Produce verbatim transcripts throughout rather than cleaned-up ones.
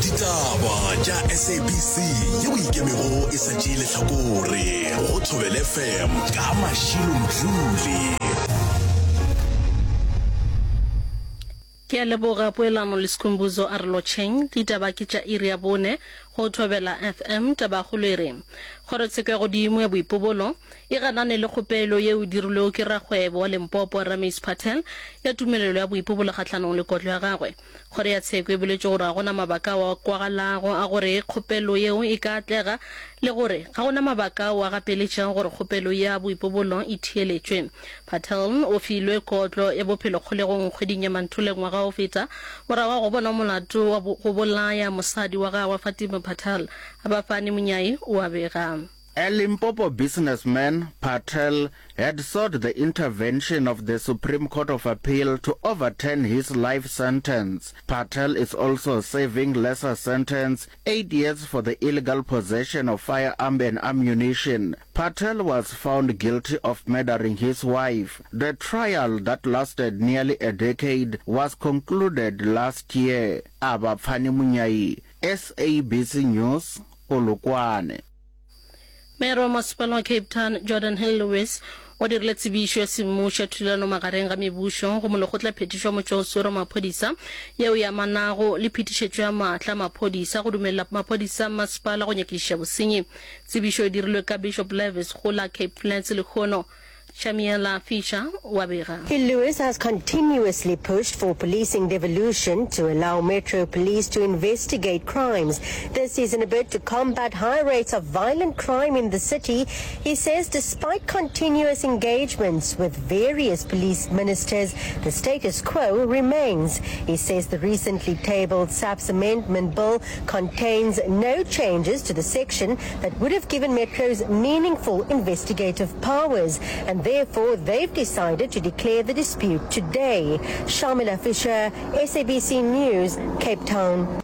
Ditaba tša S A B C yeo ikemego e sa tšee lehlakore go Thobela F M ka Mashilo Mdluli. Ke a leboga Poelano le Skhumbuzo a re lotšheng. Ditaba ke tša iri ya bone go Thobela F M. Tabakgolo e re Kgorotsheko ya Godimo ya Boipobolo e ganane le kgopelo yeo e dirilwego ke rakgwebo wa Limpopo Ramesh Patel ya tumelelo ya boipobolo kgahlanong le kotlo ya gagwe. Kgoro ya tsheko e boletše gore ga go na mabaka ao a kwagalago a gore kgopelo yeo e ka atlega le gore ga go na mabaka ao a gapeletšago gore kgopelo ya boipobolo e theeletšwe. Patel o filwe kotlo ya bophelo kgolegong kgweding ya Manthole ngwaga wa go feta morago ga go bonwa molato wa go bolaya mosadi wa gagwe Fatima Patel. Abafani Munyai o a bega. A Limpopo businessman, Patel, had sought the intervention of the Supreme Court of Appeal to overturn his life sentence. Patel is also serving lesser sentence, eight years for the illegal possession of firearm and ammunition. Patel was found guilty of murdering his wife. The trial that lasted nearly a decade was concluded last year. Abafani Munyai, S A B C News, Polokwane. Mayor wa Masepala wa Cape Town, Geordin Hill-Lewis, o dirile tsebišo ya semmušo ya thulano magareng ga mebušo go Molekgotlaphethiši wa Motšwaoswere wa Maphodisa yeo e amanago le phetišetšo ya maatla a maphodisa go dumelela maphodisa a mmasepala go nyakišiša bosenyi. Tsebišo e dirilwe ka Bishop Lavis go la Cape Flats lehono. Shamiela Fisher o a bega. Hill-Lewis has continuously pushed for policing devolution to allow Metro Police to investigate crimes. This is in a bid to combat high rates of violent crime in the city. He says despite continuous engagements with various police ministers, the status quo remains. He says the recently tabled S A P S Amendment Bill contains no changes to the section that would have given Metro's meaningful investigative powers, and therefore they've decided to declare the dispute today. Shamila Fisher, S A B C News, Cape Town.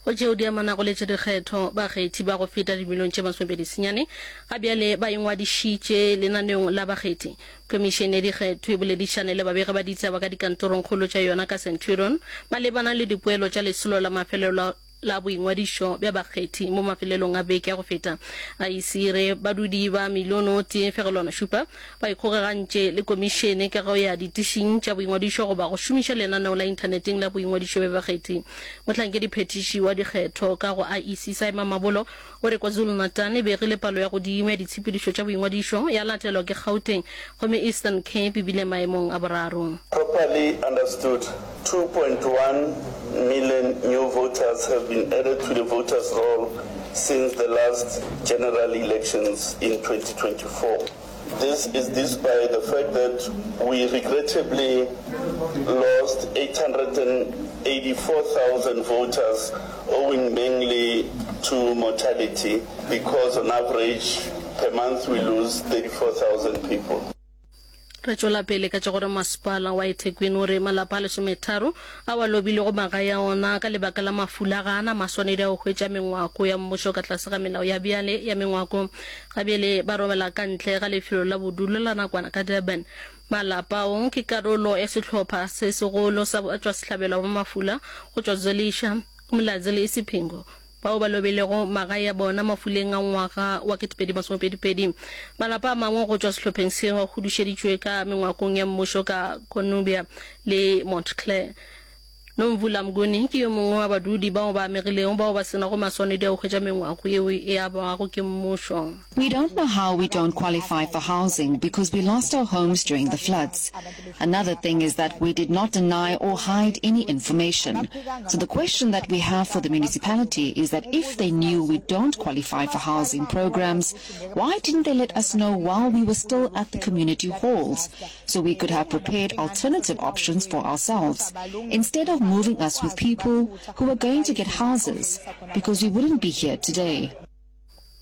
Go tšeo di amanago le tša dikgetho, bakgethi ba go feta dimilione tše masomepedi senyane ga bjale ba ingwadišitše lenaneong la bakgethi. Khomišene ya Dikgetho e boledišane le babegi ba ditaba ka dikantorongkgolo tša yona ka Centurion malebana le dipoelo tša lesolo la mafelelo la boingwadišo bja bakgethi mo mafelelong a beke ya go feta. I E C e re badudi ba milione o tee fegelwana šupa ba ikgokagantše le komišene ka go ya ditišing tša boingwadišo goba go šomiša lenaneo la inthaneteng la boingwadišo bja bakgethi. Mohlankediphethiši wa dikgetho ka go I E C Simon Mabolo o re KwaZulu-Natal e begile palo ya godimo ya ditshepedišo tša boingwadišo, ya latelwa ke Gauteng gomme Eastern Cape e bile maemong a boraro. Properly understood, two point one million new voters have been added to the voters' roll since the last general elections in twenty twenty-four. This is despite the fact that we regrettably lost eight hundred eighty-four thousand voters owing mainly to mortality, because on average per month we lose thirty-four thousand people. Re tšwela pele ka tša gore masepala wa eThekwini o re malapa a lesometharo ao a lobilego magae a ona ka lebaka la mafula ga a na maswanedi a go hwetša mengwako ya mmušo ka tlase ga melao ya bjale ya mengwako. Ga bjale ba robala ka ntle ga lefelo la bodulo la nakwana ka Durban. Malapa ao ke karolo ya sehlopha se segolo sa batšwasehlabelo ba mafula go tšwa Zwelisha, Umlazi le Isipingo bao ba lobilego magae a bona mafuleng a ngwaga wa ketepedi masomepedi-pedi. Malapa a mangwe go tšwa sehlopheng seo a hudušeditšwe ka mengwakong ya mmušo ka Cornubia le Montclair. Nomvula Mnguni ke yo mongwe wa badudi bao ba amegilego bao ba se nago maswanedi a go hwetša mengwako yeo e abwago ke mmušo. We don't know how we don't qualify for housing because we lost our homes during the floods. Another thing is that we did not deny or hide any information. So the question that we have for the municipality is that if they knew we don't qualify for housing programs, why didn't they let us know while we were still at the community halls so we could have prepared alternative options for ourselves instead of moving us with people who were going to get houses, because we wouldn't be here today?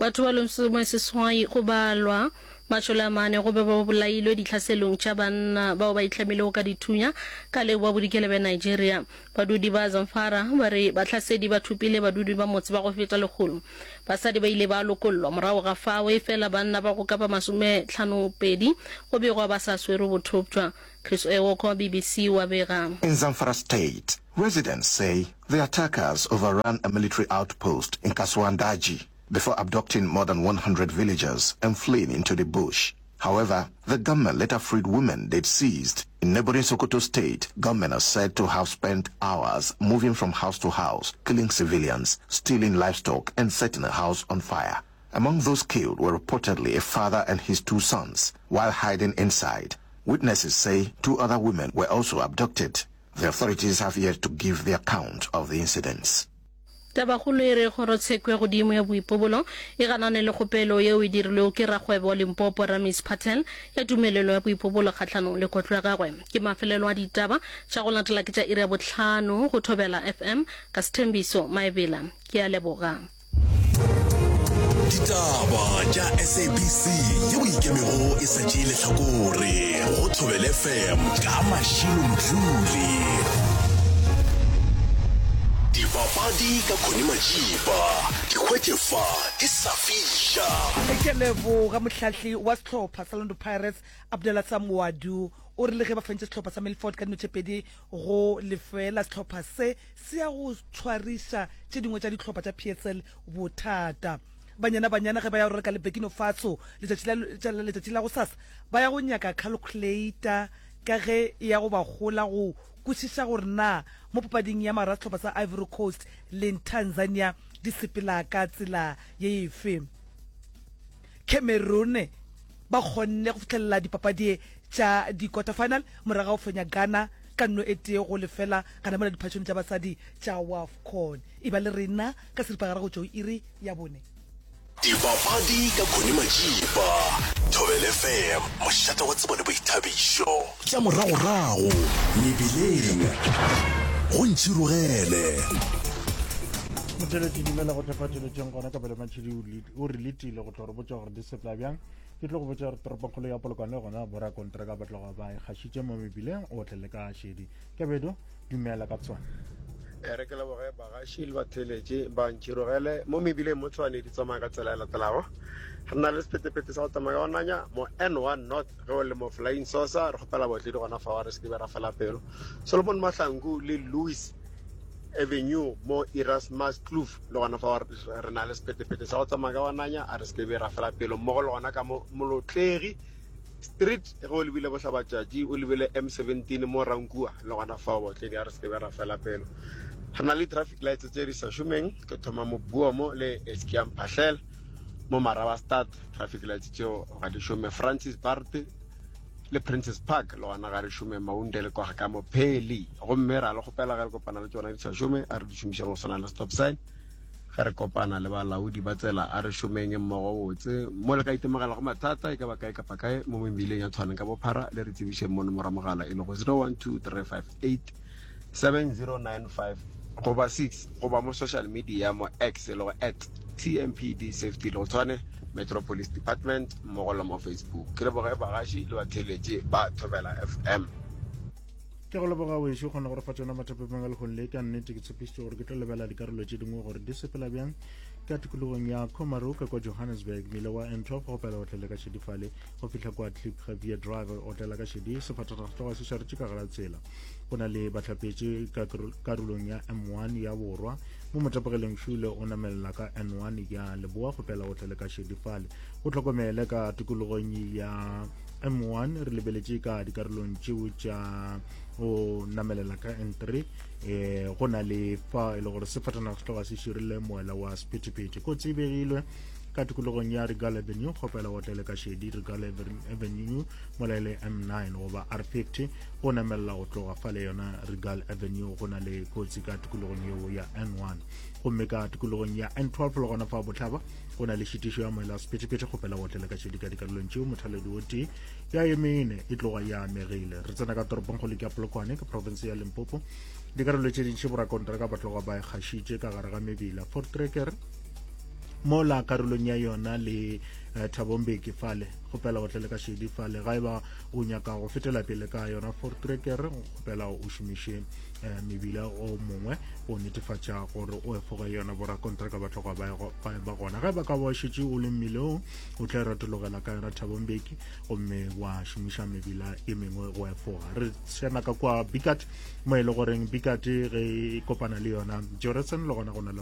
Batho ba lesomeseswai go balwa Mašole a mane go be ba bolailwe ditlhaselong tša banna bao ba itlhamilego ka dithunya ka leboa bodikela bja Nigeria. Badudi ba Zamfara ba re bahlasedi ba thopile badudi ba motse ba go feta lekgolo. Basadi ba ile ba lokollwa morago ga fao, efela banna ba go ka ba masometlhanopedi go begwa ba sa swerwe bothopša. Chris Ewoko, B B C, o a bega. In Zamfara State, residents say the attackers overran a military outpost in Kasuandaji before abducting more than one hundred villagers and fleeing into the bush. However, the gunmen later freed women they'd seized. In neighboring Sokoto State, gunmen are said to have spent hours moving from house to house, killing civilians, stealing livestock, and setting a house on fire. Among those killed were reportedly a father and his two sons, while hiding inside. Witnesses say two other women were also abducted. The authorities have yet to give their account of the incidents. Tabakgolo e re kgorotsheko ya godimo ya boipobolo e ganane le kgopelo yeo e dirilwego ke rakgwebo wa Limpopo Ramesh Patel ya tumelelo ya boipobolo kgahlanong le kotlo ya gagwe. Ke mafelelo a ditaba tša go latela ke tša iri ya bohlano go Thobela F M ka Sethembiso Maebela. Ke a leboga. Ditaba tša S A B C yeo e ikemego e sa tšee lehlakore go Thobela F M ka Mashilo Mdluli. Dipapadi ka Connie Majiba, di hwetše fa di sa fiša. Ke leboga mohlahli wa sehlopha sa Orlando Pirates Abdallah Samwadu o rile ge ba fentše sehlopha sa Milford ka dino tše pedi go lefela, sehlopha se se ya go tshwariša tše dingwe tša dihlopha tša P S L bothata. Banyana Banyana ge ba ya go reka le Burkina Faso letšatši la letšatši la go sasa ba ya go nyaka calculator ka ge e ya go ba gola go kwešiša gore na mo papading ya mara sehlopha sa Ivory Coast le Tanzania di sepela ka tsela ye efe. Cameroon ba kgonne go fihlelela dipapadi tša di-quarter final morago ga go fenya Ghana ka nno e tee go lefela gana mola diphatšong tša basadi tša WAFCON. E ba le rena ka seripagare go tšwa iri ya bone. Dipapadi ka Connie Majiba, Thobela F M, mošate wa tsebo le boithabišo. Tša moragorago mebileng go ntšhirogele. Motheletši dumela go tlhaphatšeletšeng gona ka pele Matšhidi o re letile go tlo re botša gore di sepela bjang. Ke tlo go botša gore toropongkgolo ya Polokwane gona borakontraka ba tloga ba e gašitše mo mebileng o tle le ka šedi. Kebedo dumela ka tsona. Re ke leboge bagaši le batheeletši ba ntšhirogele mo mebileng mo Tshwane di tsamaya ka tsela e latelago. Re na le sephethephethe sa go tsamaya ka go nanya mo N one North ge o le mo Flying Saucer, re kgopela baotledi gona fao re se ke be ra fela pelo. Solomon Mahlangu le Louis Avenue mo Erasmus Kloof le gona fao re na le sephethephethe sa go tsamaya ka go nanya, a re se ke be ra fela pelo. Mmogo le gona ka mo Molotlegi Street ge o lebile bohlabatšatši o lebile M seventeen mo Rankua le gona fao baotledi a re se ke be ra fela pelo. Re na le traffic lights tse di sa šomeng, ke thoma mo Buomo le Eskiam Phahlel mo Marabastad, traffic lights tšeo ga di šome. Francis Bart le Princess Park le gona ga re šome. Maunde le kwa ka mo Pheli, gomme ra le kgopela ge re kopana le tšona di sa šome a re di šomišeng go swana le stop sign. Ge re kopana le balaodi ba tsela a re šomeng mmogo botse. Mo le ka itemogela go mathata e ka ba kae kapa kae mo mebileng ya Tshwane ka bophara, le re tsebišeng mo nomoro ya mogala e lego zero one two three five eight seven zero nine five goba six, goba mo social media mo X e lego at T M P D Safety le go Tshwane Metro Police Department mmogo le mo Facebook. Ke leboge bagaši le batheeletši ba Thobela F M. Ke go leboga wešo kgona go re fa tšona mathapepeng a lehono le. Ka nnete ke tshepišitše gore ke tlo lebela dikarolo tše dingwe gore di sepela bjang ka tikologong ya Komaro ka kwa Johannesburg, mmila wa N twelve go pela o tlele ka šedi fale go fihla kwa Klipheuwel Drive o tlela ka šedi sefatanaga se tloga se šaretše ka gara tsela. Go na le bahlapetši ka karolong ya M one ya borwa mo motapogeleng šule o namelela ka N one ya leboa go pela o tlele ka šedi fale. O hlokomele ka tikologong ya M one re lebeletše ka dikarolong tšeo tša o namelela ka N three, eh go na le fa e le gore sefatanaga se tloga se širile moela wa sephethephethe. Kotsi e begilwe ka tikologong ya Regal Avenue, kgopela o tlele ka šedi Regal Avenue mola e le M nine goba R fifty go namelela go tloga fale yona Regal Avenue. Go na le kotsi ka tikologong yeo ya N one, gomme ka tikologong ya N twelve le gona fa bohlaba go na le šitišo ya moela wa sephethephethe, kgopela go tlele ka šedi ka dikarolong tšeo. Mothaledi o tee ya emene e tloga ya amegile. Re tsena ka toropongkgolo ke ya Polokwane ka province ya Limpopo. Dikarolo tše dintši borakontraka ba tloga ba e gašitše ka gare ga mebila. Voortrekker mola karolong ya yona le eh, Thabo Mbeki fale. Kgopela o tlele ka šedi fale. Ga eba o nyaka go fetela pele ka yona Voortrekker, kgopela o šomiše eh, mebila o mongwe go netefatša gore o efoge yona borakontraka ba tloga ba ba ba gona. Ge ba ka ba šetše o le mmileng, o tla retologela ka yona Thabo Mbeki gomme wa šomiša mebila e mengwe go efoga. Re tsena ka kwa Bikat, mo e le goreng Bikat ge e kopana le yona Jorissen, le gona go na le